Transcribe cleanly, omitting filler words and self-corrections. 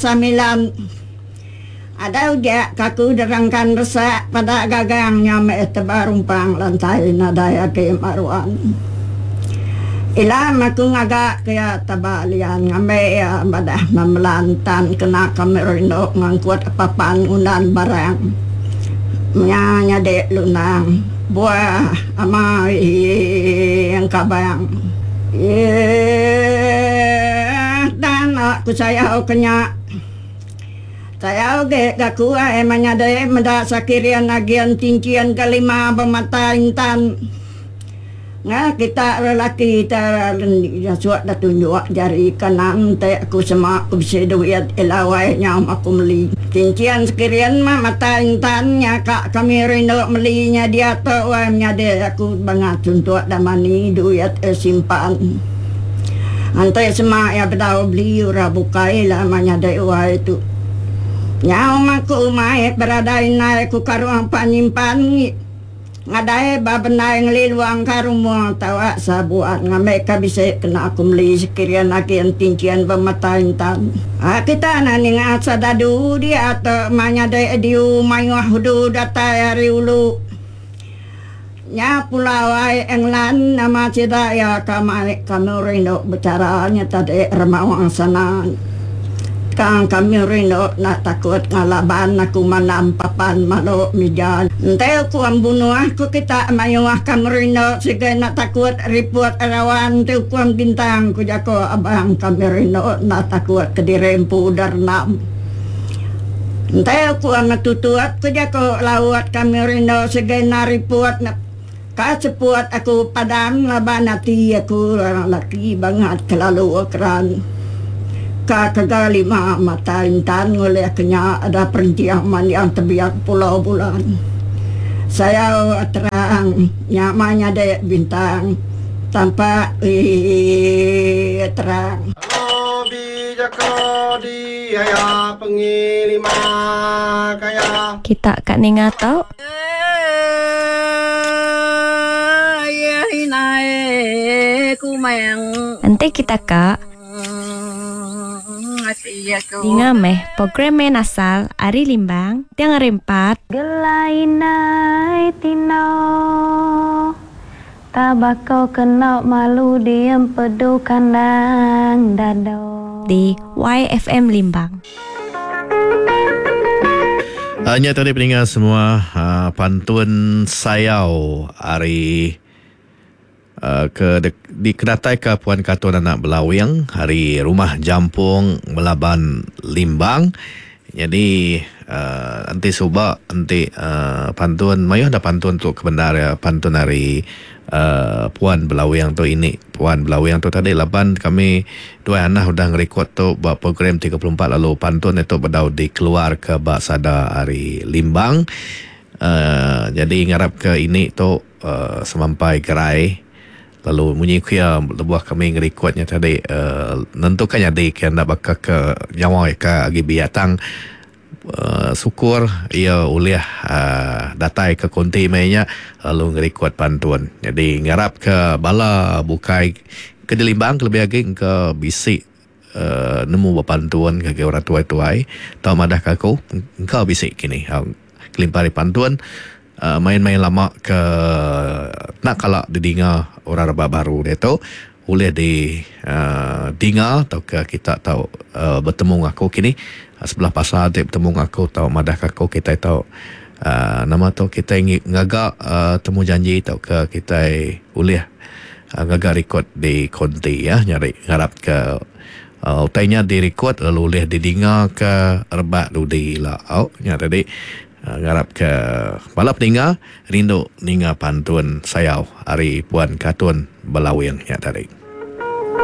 samilan. Ada uja ka aku derangkan resak peda gagang nya meh teba rumpang lantai nadai agi meruan. Ila meh aku ngaga ke iya teba lian ngambi iya madah memelan tan kena kami rindu ngangkut papan ngundan barang nya nyadi lunang buah amai engkabang. Eeh tang aku sayau ke nya. Sayau ge ga ku ai menyadi meda sakirian agian tinchin ke lima bemata intan. Nga kita lelaki te suak da tunjuk jari kanan te aku sema ku bisi duit ila wai nyau aku meli. Tinchin sekirian mah mata intan nya ka kami rindu meli nya diatu wai menyadi aku bangat suntuk da mani duit simpan. Enti sema iya bedau beli orang bukai la menyadi wai tu. Nyau maku mai beradai indai ku karung pa nyimpan ngi ngadai ba bendai ngeliluang ka rumah tawa sabuan ngambika bisi kena aku meli sekirian agi entinchin bemata intan. Kita enda ninga sadadu diatu menyadi diu mayuh udu datai ari ulu. Nya pulau ai England nama sida iya ka mai kami rindu bechara nya tadi remaung sana. Tang kami rindu enda takut ngalaban aku mandam papan malu mija. Enti ukum bunuh ku kita mayuh kami rindu sigi enda takut riput rawan enti ukum bintang ku jaku abang kami rindu enda takut kediri empu udah rendam. Enti aku amat tutut ku jaku laut kami rindu sigai enda riput ka seput aku padam laban ati aku laki bangat kelalu keran ka kega lima mata intan ngulih ke nya ada perenching manding tebiak pulau bulan. Sayau terang nya mah nyadi bintang tampak terang. Kita ka ninga tu. Enti kita ka. Dinga meh program main asal ari Limbang tiang hari empat. Gelai indai tino Tabako keno malu diem pedu kandang dado. Di YFM Limbang. Nya tadi peninga semua pantun sayau ari ke dikenataika Puan Katun Anak Belawing ari Rumah Jampong Melaban Limbang. Nyadi enti suba enti pantun mayuh da pantun tu ke bendar iya pantun ari Puan Belawing tu ini Puan Belawing tu tadi laban kami duai anah udah ngerikod tu ba program 34 lalu pantun itu bedau dikeluarka ba sada ari Limbang. Nyadi ngarapka ini tu Semampai gerai lalu munyi ku iya lebuh kami ngerikod nya tadi nentuka nyadi ke enda baka ke nyawa iya ke agi biak tang syukur iya ulih datai ke konti meh nya lalu ngerikod pantun. Nyadi ngarap ke bala bukai ke dilimbang kelebih agi engka bisi nemu bepantun ngagai orang tuai-tuai tau madah ka aku engka bisi kini kelimpah ari pantun main-main lama ke enda kala didinga orang rebak baru diatu ulih di dinga tauka kita tau betemu enggau aku kini sebelah pasar ti betemu enggau aku tau madah ka aku kitai tau nama tu kitai ngaga temu janji tauka kitai ulih Ngaga rikod di konti ya nyadi ngarap ke utai nya dirikod lalu ulih didinga ke rebak dudi ila au nya tadi ngarap ke bala peninga rindu ninga pantun sayau ari Puan Katun Belawing nya tadi.